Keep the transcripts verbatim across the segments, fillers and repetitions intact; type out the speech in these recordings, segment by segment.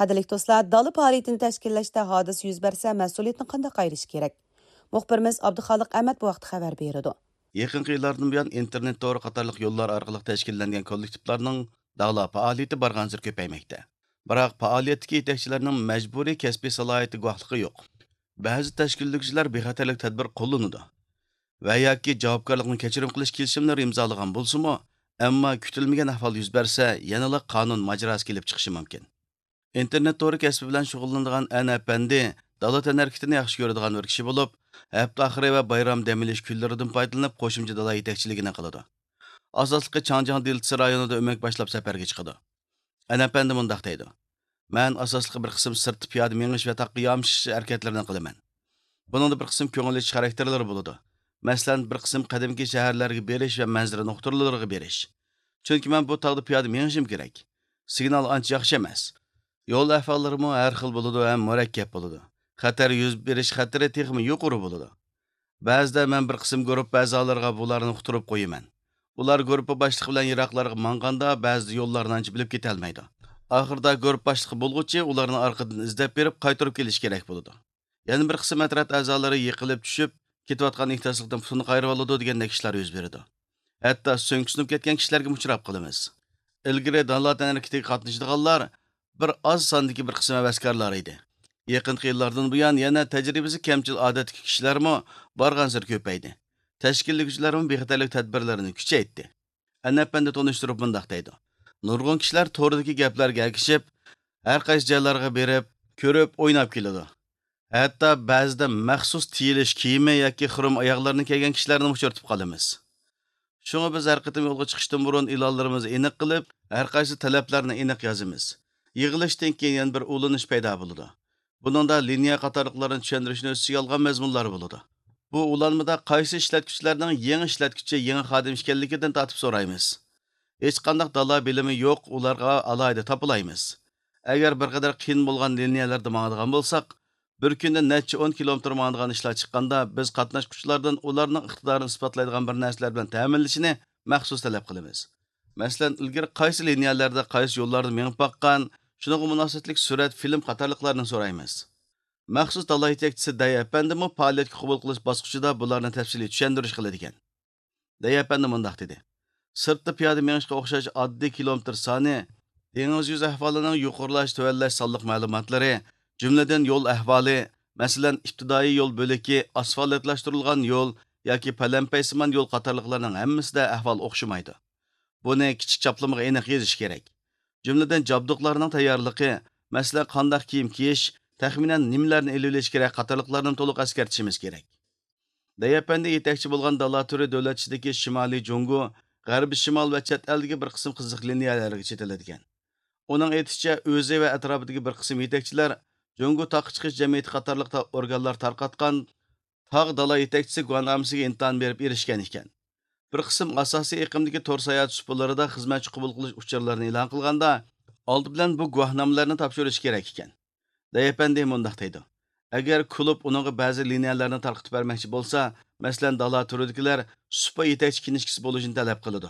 قەدىرلىك دوستلار، دالا پائالىيىتىنى تەشكىللەشتە ھادىسە يۈز بەرسە، مەسئۇلىيەتنى قانداق ئايرىش كېرەك؟ مۇخبىرىمىز ئابدۇخالىق ئەمەت بۇ ھەقتە خەۋەر بېرىدۇ. يېقىنقى يىللاردىن بۇيان ئىنتېرنېت تورى قاتارلىق يوللار ئارقىلىق تەشكىللەنگەن كوللېكتىپلارنىڭ دالا پائالىيىتى بارغانسېرى كۆپەيمەكتە. بىراق، پائالىيەتتىكى يېتەكچىلەرنىڭ مەجبۇرىي كەسپىي سالاھىيىتى گۇۋاھلىقى يوق. بەزى تەشكىللىگۈچىلەر بىخەتەرلىك تەدبىر قوللىنىدۇ ۋە ياكى جاۋابكارلىقنى كەچۈرۈم قىلىش كېلىشىملىرى ئىمزالىغان بولسىمۇ، ئەمما كۈتۈلمىگەن ئەھۋال يۈز بەرسە، يەنىلا قانۇن ماجىراسى كېلىپ چىقىشى مۇمكىن. ئىنتېرنېت تورى كەسپى بىلەن شۇغۇللىنىدىغان ئەن ئەپەندى دالا تەنھەرىكىتىنى ياخشى كۆرىدىغان بىر كىشى بولۇپ، ھەپتە ئاخىرى ۋە بايرام دەم ئېلىش كۈنلىرىدىن پايدىلىنىپ قوشۇمچە دالا يېتەكچىلىكىنى قىلىدۇ. ئاساسلىقى چاڭجياڭ دېلتىسى رايونىدا ئۆمەك باشلاپ سەپەرگە چىقىدۇ. ئەن ئەپەندى مۇنداق دەيدۇ: مەن ئاساسلىقى بىر قىسىم سىرتتا پىيادە مېڭىش ۋە تاغقا يامىشىش ھەرىكەتلىرىنى قىلىمەن. بۇنىڭدا بىر قىسىم كۆڭۈل ئېچىش خاراكتېرلىرى بولىدۇ. مەسىلەن، بىر قىسىم قەدىمكى شەھەرلەرگە بېرىش ۋە مەنزىرە نۇقتىلىرىغا بېرىش. چۈنكى مەن بۇ تاغدا پىيادە مېڭىشىم كېرەك. سىگنال ئانچە ياخشى ئەمەس. يول ئەھۋاللىرىمۇ ھەر خىل بولىدۇ ھەم مۇرەككەپ بولىدۇ. خەتەر يۈز بېرىش خەتىرى تېخىمۇ يۇقىرى بولىدۇ. بەزىدە مەن بىر قىسىم گۇرۇپپا ئەزالىرىغا بۇلارنى ئۇقتۇرۇپ قويىمەن. ئۇلار گۇرۇپپا باشلىقى بىلەن يىراقلارغا ماڭغاندا، بەزىدە يوللارنى ئانچە بىلىپ كېتەلمەيدۇ. ئاخىرىدا گۇرۇپپا باشلىقى بولغۇچى ئۇلارنى ئارقىدىن ئىزدەپ بېرىپ، قايتۇرۇپ كېلىشى كېرەك بولىدۇ. يەنە بىر قىسىم ئەترەت ئەزالىرى يىقىلىپ چۈشۈپ، كېتىۋاتقان ئېھتىياتسىزلىقتىن پۇتىنى قايرىۋالىدۇ دېگەندەك ئىشلار يۈز بېرىدۇ. ھەتتا سۆڭىكى سۇنۇپ كەتكەن كىشىلەرگىمۇ ئۇچراپ قالىمىز. ئىلگىرى دالا تەنھەرىكىتىگە قاتنىشىدىغانلار بىر ئاز ساندىكى بىر قىسىم ھەۋەسكارلار ئىدى. يېقىنقى يىللاردىن بۇيان يەنە تەجرىبىسى كەمچىل ئادەتتىكى كىشىلەرمۇ بارغانسېرى كۆپەيدى. تەشكىللىگۈچىلەرمۇ بىخەتەرلىك تەدبىرلىرىنى كۈچەيتتى. ئەنەپەندى تونۇشتۇرۇپ مۇنداق دەيدۇ: نۇرغۇن كىشىلەر توردىكى گەپلەرگە ئەگىشىپ، ھەر قايسى جايلارغا بېرىپ، كۆرۈپ، ئويناپ كېلىدۇ. ھەتتا بەزىدە مەخسۇس تىيىلىش كىيىمى ياكى خۇرۇم ئاياغلىرىنى كىيگەن كىشىلەرنىمۇ ئۇچرىتىپ قالىمىز. شۇڭا بىز ھەر قېتىم يولغا چىقىشتىن بۇرۇن ئېلانلىرىمىزنى ئېنىق قىلىپ، ھەر قايسى تەلەپلەرنى ئېنىق يازىمىز. يىغىلىشتىن كېيىن يەنە بىر ئۇلىنىش پەيدا بولىدۇ. بۇنىڭدا لىنىيە قاتارلىقلارنى چۈشەندۈرۈشنى ئۆز ئىچىگە ئالغان مەزمۇنلار بولىدۇ. بۇ ئۇلانمىدا قايسى ئىشلەتكۈچىلەرنىڭ يېڭى ئىشلەتكۈچى، يېڭى خادىم ئىكەنلىكىدىن تارتىپ سورايمىز. ھېچقانداق دالا بىلىمى يوق ئۇلارغا ئالاھىدە تاپىلايمىز. ئەگەر بىر قەدەر قىيىن بولغان لىنىيەلەردە ماڭىدىغان بولساق، بىر كۈندە نەچچە ئون كىلومېتىر ماڭىدىغان ئىشلار چىققاندا، بىز قاتناشقۇچىلاردىن ئۇلارنىڭ ئىقتىدارىنى ئىسپاتلايدىغان بىر نەرسىلەر بىلەن تەمىنلىشىنى مەخسۇس تەلەپ قىلىمىز. مەسىلەن، ئىلگىرى قايسى لىنىيەلەردە، قايسى يوللاردا مېڭىپ باققان، شۇنىڭغا مۇناسىۋەتلىك سۈرەت، فىلىم قاتارلىقلارنى سورايمىز. مەخسۇس دالا يېتەكچىسى دەي ئەپەندىمۇ پائالىيەتكە قوبۇل قىلىش باسقۇچىدا بۇلارنى تەپسىلىي چۈشەندۈرۈش قىلىدىكەن. دەي ئەپەندى مۇنداق دېدى: سىرتتا پىيادە مېڭىشقا ئوخشاش ئاددىي كىلومېتىر سانى، دېڭىز يۈزى ئەھۋالىنىڭ يۇقىرىلاش، تۆۋەنلەش سانلىق مەلۇماتلىرى، جۈملىدىن يول ئەھۋالى، مەسىلەن، ئىپتىدائىي يول بۆلىكى، ئاسفالتلاشتۇرۇلغان يول ياكى پەلەمپەيسىمان يول قاتارلىقلارنىڭ ھەممىسىدە ئەھۋال ئوخشىمايدۇ. بۇنى كىچىك چاپلىمىغا ئېنىق يېزىش كېرەك. جۈملىدىن جابدۇقلارنىڭ تەييارلىقى، مەسىلەن، قانداق كىيىم كىيىش، تەخمىنەن نېمىلەرنى ئېلىۋېلىش كېرەك قاتارلىقلارنى تولۇق ئەسكەرتىشىمىز كېرەك. دەي ئەپەندى يېتەكچى بولغان دالا تۈرى دۆلەت ئىچىدىكى شىمالىي جۇڭگو، غەربىي شىمال ۋە چەت ئەلدىكى بىر قىسىم قىزىق لىنىيەلەرگە چېتىلىدىكەن. ئۇنىڭ ئېيتىشىچە، ئۆزى ۋە ئەتراپىدىكى بىر قىسىم يېتەكچىلەر جۇڭگو تاغقا چىقىش جەمئىيىتى قاتارلىق تا-، ئورگانلار تارقاتقان تاغ دالا يېتەكچىسى گۇۋاھنامىسىگە ئىمتىھان بېرىپ ئېرىشكەن ئىكەن. بىر قىسىم ئاساسىي ئېقىمدىكى تور ساياھەت سۇپىلىرىدا خىزمەتچى قوبۇل قىلىش ئۇچۇرلىرىنى ئېلان قىلغاندا، ئالدى بىلەن بۇ گۇۋاھنامىلەرنى تاپشۇرۇش كېرەك ئىكەن. دەي ئەپەندى مۇنداق دەيدۇ: ئەگەر كۇلۇب ئۇنىڭغا بەزى لىنىيەلەرنى تارقىتىپ بەرمەكچى بولسا، مەسىلەن، دالا تۈرىدىكىلەر سۇپا يېتەكچى كىنىشكىسى بولۇشنى تەلەپ قىلىدۇ.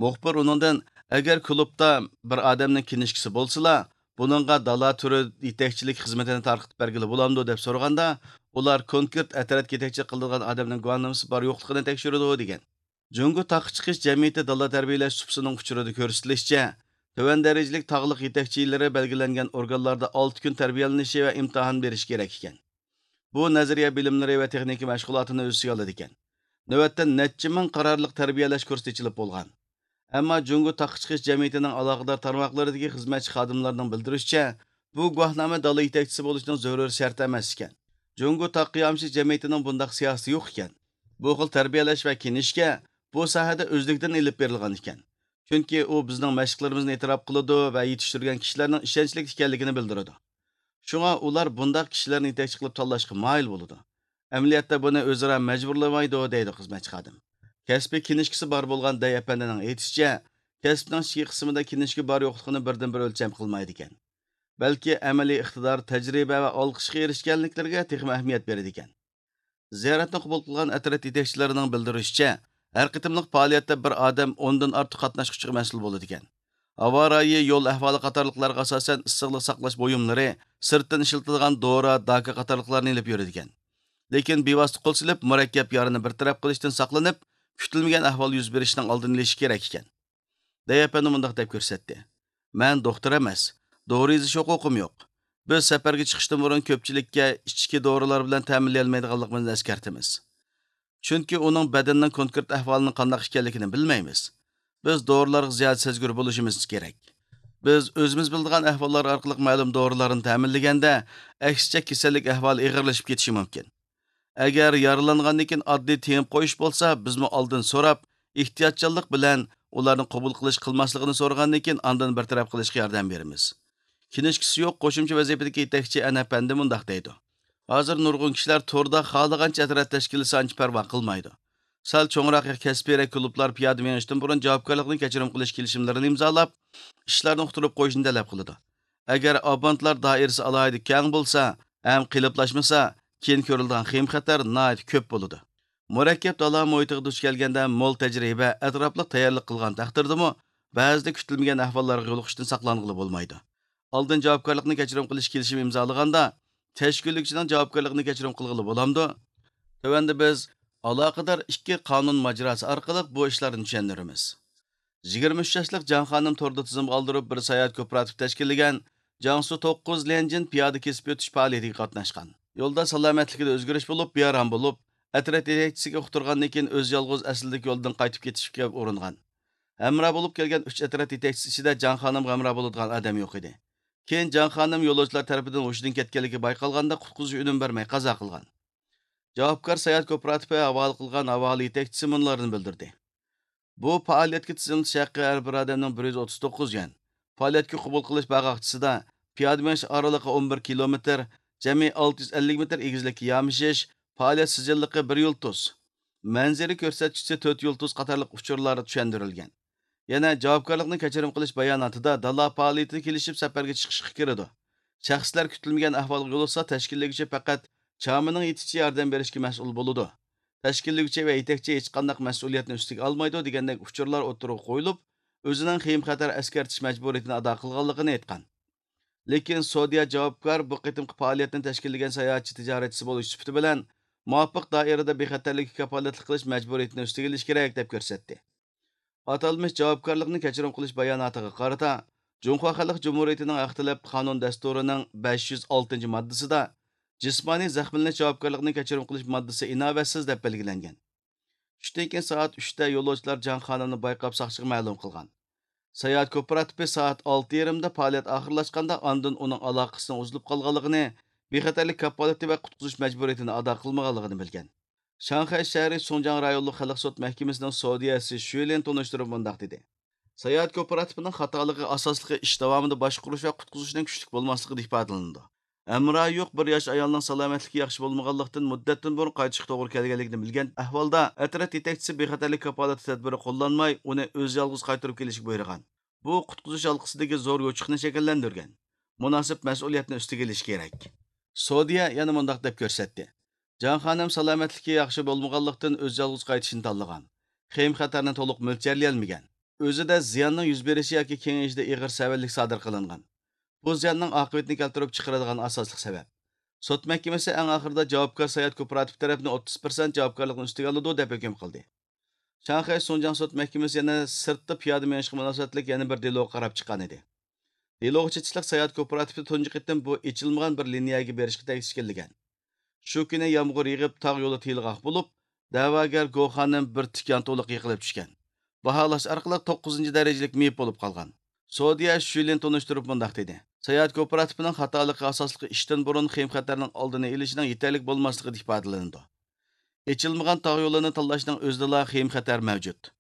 مۇخبىر ئۇنىڭدىن، ئەگەر كۇلۇبتا بىر ئادەمنىڭ كىنىشكىسى بولسىلا، بۇنىڭغا دالا تۈرى يېتەكچىلىك خىزمىتىنى تارقىتىپ بەرگىلى بولامدۇ، دەپ سورىغاندا، ئۇلار كونكرېت ئەترەت يېتەكچىلىك قىلىدىغان ئادەمنىڭ گۇۋاھنامىسى بار يوقلۇقىنى تەكشۈرىدۇ، دېگەن. جۇڭگو تاغقا چىقىش جەمئىيىتى دالا تەربىيەلەش سۇپىسىنىڭ ئۇچۇرىدا كۆرسىتىلىشىچە، تۆۋەن دەرىجىلىك تاغلىق يېتەكچىلىرى بەلگىلەنگەن ئورگانلاردا ئالتە كۈن تەربىيەلىنىشى ۋە ئىمتىھان بېرىشى كېرەك ئىكەن. بۇ نەزەرىيە بىلىملىرى ۋە تېخنىكا مەشغۇلاتىنى ئۆز ئىچىگە ئالىدىكەن. نۆۋەتتە نەچچە مىڭ قارارلىق تەربىيەلەش كۇرسى ئېچىلىپ بولغان. ئەمما جۇڭگو تاغقا چىقىش جەمئىيىتىنىڭ ئالاقىدار تارماقلىرىدىكى خىزمەتچى خادىملارنىڭ بىلدۈرۈشىچە، بۇ گۇۋاھنامە دالا يېتەكچىسى بولۇشنىڭ زۆرۈر شەرتى ئەمەس ئىكەن. جۇڭگو تاغقا يامىشىش جەمئىيىتىنىڭ بۇنداق سىياسىتى يوق ئىكەن. بۇ خىل تەربىيەلەش ۋە كىنىشكا بۇ ساھەدە ئۆزلۈكىدىن ئېلىپ بېرىلغان ئىكەن. چۈنكى ئۇ بىزنىڭ مەشىقلىرىمىزنى ئېتىراپ قىلىدۇ ۋە يېتىشتۈرگەن كىشىلەرنىڭ ئىشەنچلىك ئىكەنلىكىنى بىلدۈرىدۇ. شۇڭا ئۇلار بۇنداق كىشىلەرنى يېتەكچى قىلىپ تاللاشقا مايىل بولىدۇ. ئەمەلىيەتتە بۇنى ئۆزئارا مەجبۇرلىمايدۇ، دەيدۇ خىزمەتچى خادىم. كەسپىي كىنىشكىسى بار بولغان دەي ئەپەندىنىڭ ئېيتىشىچە، كەسىپنىڭ ئىچكى قىسمىدا كىنىشكا بار يوقلۇقىنى بىردىنبىر ئۆلچەم قىلمايدىكەن. بەلكى ئەمەلىي ئىقتىدار، تەجرىبە ۋە ئالقىشقا ئېرىشكەنلىكلىرىگە تېخىمۇ ئەھمىيەت بېرىدىكەن. زىيارەتنى قوبۇل قىلغان ئەترەت يېتەكچىلىرىنىڭ بىلدۈرۈشىچە، ھەر قېتىملىق پائالىيەتتە بىر ئادەم ئوندىن ئارتۇق قاتناشقۇچىغا مەسئۇل بولىدىكەن. ھاۋا رايى، يول ئەھۋالى قاتارلىقلارغا ئاساسەن ئىسسىقلىق ساقلاش بۇيۇملىرى، سىرتتىن ئىشلىتىدىغان دورا، داكا قاتارلىقلارنى ئېلىپ يۈرىدىكەن. لېكىن بىۋاسىتە قول سېلىپ، مۇرەككەپ يارىنى بىر تەرەپ قىلىشتىن ساقلىنىپ، كۈتۈلمىگەن ئەھۋال يۈز بېرىشىنىڭ ئالدىنى ئېلىشى كېرەك ئىكەن. دەي ئەپەندى مۇنداق دەپ كۆرسەتتى: مەن دوختۇر ئەمەس، دورا يېزىش ھوقۇقۇم يوق. بىز سەپەرگە چىقىشتىن بۇرۇن كۆپچىلىككە ئىچكى دورىلار بىلەن تەمىنلىيەلمەيدىغانلىقىمىزنى ئەسكەرتىمىز. چۈنكى ئۇنىڭ بەدىنىنىڭ كونكرېت ئەھۋالىنىڭ قانداق ئىكەنلىكىنى بىلمەيمىز. بىز دورىلارغا زىيادە سەزگۈر بولۇشىمىز كېرەك. بىز ئۆزىمىز بىلىدىغان ئەھۋاللار ئارقىلىق مەلۇم دورىلارنى تەمىنلىگەندە، ئەكسىچە كېسەللىك ئەھۋالى ئېغىرلىشىپ كېتىشى مۇمكىن. ئەگەر يارىلانغاندىن كېيىن ئاددىي تېڭىپ قويۇش بولسا، بىزمۇ ئالدىن سوراپ، ئېھتىياتچانلىق بىلەن ئۇلارنى قوبۇل قىلىش قىلماسلىقىنى سورىغاندىن كېيىن ئاندىن بىر تەرەپ قىلىشقا ياردەم بېرىمىز. كىنىشكىسى يوق قوشۇمچە ۋەزىپىدىكى يېتەكچى ئەن ئەپەندى مۇنداق دەيدۇ: ھازىر نۇرغۇن كىشىلەر توردا خالىغانچە ئەترەت تەشكىللىسە ئانچە پەرۋا قىلمايدۇ. سەل چوڭراق يا كەسپىيرەك كۇلۇبلار پىيادە مېڭىشتىن بۇرۇن جاۋابكارلىقنى كەچۈرۈم قىلىش كېلىشىملىرىنى ئىمزالاپ، ئىشلارنى ئۇقتۇرۇپ قويۇشنى تەلەپ قىلىدۇ. ئەگەر ئابونتلار دائىرىسى ئالاھىدە كەڭ بولسا ھەم قېلىپلاشمىسا، كېيىن كۆرۈلىدىغان خېيىم-خەتەر ناھايىتى كۆپ بولىدۇ. مۇرەككەپ دالا مۇھىتىغا دۇچ كەلگەندە مول تەجرىبە، ئەتراپلىق تەييارلىق قىلغان تەقدىردىمۇ، بەزىدە كۈتۈلمىگەن ئەھۋاللارغا يولۇقۇشتىن ساقلانغىلى بولمايدۇ. ئالدىن جاۋابكارلىقنى كەچۈرۈم قىلىش كېلىشىمى ئىمزالىغاندا، تەشكىللىگۈچىنىڭ جاۋابكارلىقىنى كەچۈرۈم قىلغىلى بولامدۇ؟ تۆۋەندە بىز ئالاقىدار ئىككى قانۇن ماجىراسى ئارقىلىق بۇ ئىشلارنى چۈشەندۈرىمىز. يىگىرمە ئۈچ ياشلىق جاڭ خانىم توردا تىزىمغا ئالدۇرۇپ بىر ساياھەت كوپىراتىپى تەشكىللىگەن جياڭسۇ توققۇز ليەنجىن پىيادە كېسىپ ئۆتۈش پائالىيىتىگە قاتناشقان. يولدا سالامەتلىكىدە ئۆزگىرىش بولۇپ، بىئارام بولۇپ، ئەترەت يېتەكچىسىگە ئۇقتۇرغاندىن كېيىن ئۆزى يالغۇز ئەسلىدىكى يولدىن قايتىپ كېتىشكە ئۇرۇنغان. ھەمراھ بولۇپ كەلگەن ئۈچ ئەترەت يېتەكچىسى ئىچىدە جاڭ خانىمغا ھەمراھ بولىدىغان ئادەم يوق ئىدى. كېيىن جاڭ خانىم يولۇچىلار تەرىپىدىن ھوشىدىن كەتكەنلىكى بايقالغاندا قۇتقۇزۇش ئۈنۈم بەرمەي قازا قىلغان. جاۋابكار ساياھەت كوپىراتىپى ھاۋالە قىلغان ھاۋالە يېتەكچىسى مۇنۇلارنى بىلدۈردى: بۇ پائالىيەتكە تىزىملىتىش ھەققى ھەر بىر ئادەمنىڭ بىر يۈز ئوتتۇز توققۇز يۈەن. پائالىيەتكە قوبۇل قىلىش باغاقچىسىدا پىيادە مېڭىش ئارىلىقى ئون بىر كىلومېتىر، جەمئىي ئالتە يۈز ئەللىك مېتىر ئېگىزلىككە يامىشىش، پائالىيەت سىجىللىقى بىر يۇلتۇز، مەنزىرە كۆرسەتكۈچىسى تۆت يۇلتۇز قاتارلىق ئۇچۇرلار چۈشەندۈرۈلگەن. يەنە جاۋابكارلىقنى كەچۈرۈم قىلىش باياناتىدا دالا پائالىيىتىگە كېلىشىپ سەپەرگە چىقىشقا كىرىدۇ. شەخسلەر كۈتۈلمىگەن ئەھۋالغا يولۇقسا، تەشكىللىگۈچى پەقەت چامىنىڭ يېتىشىچە ياردەم بېرىشكە مەسئۇل بولىدۇ. تەشكىللىگۈچى ۋە يېتەكچى ھېچقانداق مەسئۇلىيەتنى ئۈستىگە ئالمايدۇ دېگەندەك ئۇچۇرلار ئوتتۇرىغا قويۇلۇپ، ئۆزىنىڭ خېيىم خەتەر ئەسكەرتىش مەجبۇرىيىتىنى ئادا قىلغانلىقىنى ئېيتقان. لېكىن سودىيە جاۋابكار بۇ قېتىمقى پائالىيەتنى تەشكىللىگەن ساياھەتچى تىجارەتچىسى بولۇش سۈپىتى بىلەن مۇۋاپىق دائىرىدە بىخەتەرلىككە كاپالەتلىك قىلىش مەجبۇرىيىتىنى ئۈستىگە ئېلىش كېرەك، دەپ كۆرسەتتى. ئاتالمىش جاۋابكارلىقنى كەچۈرۈم قىلىش باياناتىغا قارىتا، جۇڭخۇا خەلق جۇمھۇرىيىتىنىڭ ھەق تەلەپ قانۇن دەستۇرىنىڭ بەش يۈز ئالتىنچى ماددىسىدا جىسمانىي زەخىملىنىش جاۋابكارلىقىنى كەچۈرۈم قىلىش ماددىسى ئىناۋەتسىز دەپ بەلگىلەنگەن. چۈشتىن كېيىن سائەت ئۈچتە يولۇچىلار جاڭ خانىمنى بايقاپ ساقچىغا مەلۇم قىلغان. ساياھەت كوپىراتىپى سائەت ئالتە يېرىمدا پائالىيەت ئاخىرلاشقاندا ئاندىن ئۇنىڭ ئالاقىسىنىڭ ئۈزۈلۈپ قالغانلىقىنى، بىخەتەرلىك كاپالىتى ۋە قۇتقۇزۇش مەجبۇرىيىتىنى ئادا قىلمىغانلىقىنى بىلگەن. شاڭخەي شەھىرى سۇڭجياڭ رايونلۇق خەلق سوت مەھكىمىسىنىڭ سودىيەسى شۈلىن تونۇشتۇرۇپ مۇنداق دېدى: ساياھەت كوپىراتىپىنىڭ خاتالىقى ئاساسلىقى ئىش داۋامىدا باشقۇرۇش ۋە قۇتقۇزۇشنىڭ كۈچلۈك بولماسلىقىدا ئىپادىلىنىدۇ. ھەمراھى يوق بىر ياش ئايالنىڭ سالامەتلىكى ياخشى بولمىغانلىقتىن، مۇددەتتىن بۇرۇن قايتىشقا توغرا كەلگەنلىكىنى بىلگەن ئەھۋالدا، ئەترەت يېتەكچىسى بىخەتەرلىك كاپالىتى تەدبىرى قوللانماي، ئۇنى ئۆزى يالغۇز قايتۇرۇپ كېلىشكە بۇيرۇغان. بۇ قۇتقۇزۇش ھالقىسىدىكى زور يوچۇقنى شەكىللەندۈرگەن. مۇناسىپ مەسئۇلىيەتنى ئۈستىگە ئېلىش كېرەك. سودىيە يەنە مۇنداق دەپ كۆرسەتتى: جاڭ خانىم سالامەتلىكى ياخشى بولمىغانلىقتىن، ئۆزى يالغۇز قايتىشنى تاللىغان. خېيىم خەتەرنى تولۇق مۆلچەرلىيەلمىگەن. ئۆزىدە زىياننىڭ يۈز بېرىشى ياكى كېڭىيىشىدە ئېغىر سەۋەنلىك سادىر قىلىنغان. بۇ زىياننىڭ ئاقىۋىتىنى كەلتۈرۈپ چىقىرىدىغان ئاساسلىق سەۋەب. سوت مەھكىمىسى ئەڭ ئاخىرىدا جاۋابكار ساياھەت كوپىراتىپى تەرەپنى ئوتتۇز پىرسەنت جاۋابكارلىقنى ئۈستىگە ئالىدۇ، دەپ ھۆكۈم قىلدى. شاڭخەي سۇڭجياڭ سوت مەھكىمىسى يەنە سىرتتا پىيادە مېڭىشقا مۇناسىۋەتلىك يەنە بىر دېلوغا قاراپ چىققان ئىدى. دېلوغا چېتىشلىق ساياھەت كوپىراتىپى تۇنجى قېتىم بۇ ئېچىلمىغان بىر لىنىيەگە بېرىشقا تەكلىشكەنلىگەن. شۇ كۈنى يامغۇر يېغىپ، تاغ يولى تېيىلغاق بولۇپ، دەۋاگەر گو خانىم بىر تىك يانتۇلۇققا يىقىلىپ چۈشكەن. باھالاش ئارقىلىق توققۇزىنچى دەرىجىلىك مېيىپ بولۇپ قالغان. سودىيە شۈلىن تونۇشتۇرۇپ مۇنداق دېدى: ساياھەت كوپىراتىپىنىڭ خاتالىقى ئاساسلىقى ئىشتىن بۇرۇن خېيىم خەتەرنىڭ ئالدىنى ئېلىشنىڭ يېتەرلىك بولماسلىقىدا ئىپادىلىنىدۇ. ئېچىلمىغان تاغ يولىنى تاللاشنىڭ ئۆزىدىلا خېيىم خەتەر مەۋجۇت.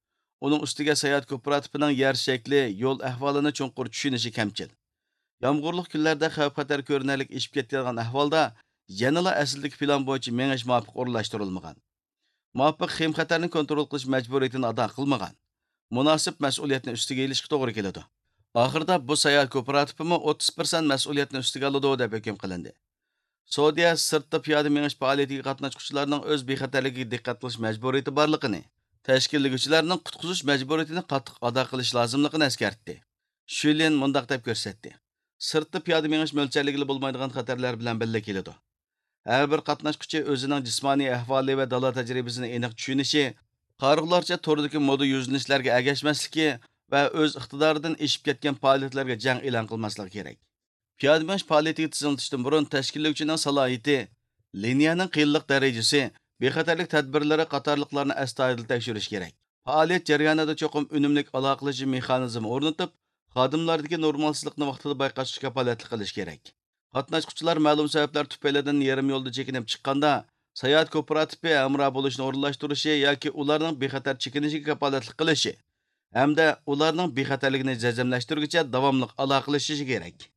ئۇنىڭ ئۈستىگە ساياھەت كوپىراتىپىنىڭ يەر شەكلى، يول ئەھۋالىنى چوڭقۇر چۈشىنىشى كەمچىل. يامغۇرلۇق كۈنلەردە خەۋپ خەتەر كۆرۈنەرلىك ئېشىپ كېتىدىغان ئەھۋالدا يەنىلا ئەسلىدىكى پىلان بويىچە مېڭىش مۇۋاپىق ئورۇنلاشتۇرۇلمىغان. مۇۋاپىق خېيىم خەتەرنى كونترول قىلىش مەجبۇرىيىتىنى ئادا قىلمىغان. مۇناسىپ مەسئۇلىيەتنى ئۈستىگە ئېلىشقا توغرا كېلىدۇ. ئاخىرىدا بۇ ساياھەت كوپىراتىپىمۇ ئوتتۇز پىرسەنت مەسئۇلىيەتنى ئۈستىگە ئالىدۇ، دەپ ھۆكۈم قىلىندى. سودىيە سىرتتا پىيادە مېڭىش پائالىيىتىگە قاتناشقۇچىلارنىڭ ئۆز بىخەتەرلىكىگە دىققەت قىلىش مەجبۇرىيىتى بارلىقىنى، تەشكىللىگۈچىلەرنىڭ قۇتقۇزۇش مەجبۇرىيىتىنى قاتتىق ئادا قىلىش لازىملىقىنى ئەسكەرتتى. شۈلىن مۇنداق دەپ كۆرسەتتى: سىرتتا پىيادە مېڭىش مۆلچەرلىگىلى بولمايدىغان خەتەرلەر بىلەن بىللە كېلىدۇ. ھەر بىر قاتناشقۇچى ئۆزىنىڭ جىسمانىي ئەھۋالى ۋە دالا تەجرىبىسىنى ئېنىق چۈشىنىشى، قارىغۇلارچە توردىكى مودا يۈزلىنىشلەرگە ئەگەشمەسلىكى ۋە ئۆز ئىقتىدارىدىن ئېشىپ كەتكەن پائالىيەتلەرگە جەڭ ئېلان قىلماسلىقى كېرەك. پىيادە مېڭىش پائالىيىتىگە تىزىملىتىشتىن بۇرۇن تەشكىللىگۈچىنىڭ سالاھىيىتى، لىنىيەنىڭ قىيىنلىق دەرىجىسى، بىخەتەرلىك تەدبىرلىرى قاتارلىقلارنى ئەستايىدىل تەكشۈرۈش كېرەك. پائالىيەت جەريانىدا چوقۇم ئۈنۈملۈك ئالاقىلىشىش مېخانىزمى ئورنىتىپ، خادىملاردىكى نورمالسىزلىقنى ۋاقتىدا بايقاشقا كاپالەتلىك قىلىش كېرەك. قاتناشقۇچىلار مەلۇم سەۋەبلەر تۈپەيلىدىن يېرىم يولدا چېكىنىپ چىققاندا، ساياھەت كوپىراتىپى ھەمراھ بولۇشنى ئورۇنلاشتۇرۇشى ياكى ئۇلارنىڭ بىخەتەر چېكىنىشىگە كاپالەتلىك قىلىشى ھەمدە ئۇلارنىڭ بىخەتەرلىكىنى جەزملەشتۈرگۈچە داۋاملىق ئالاقىلىشىشى كېرەك.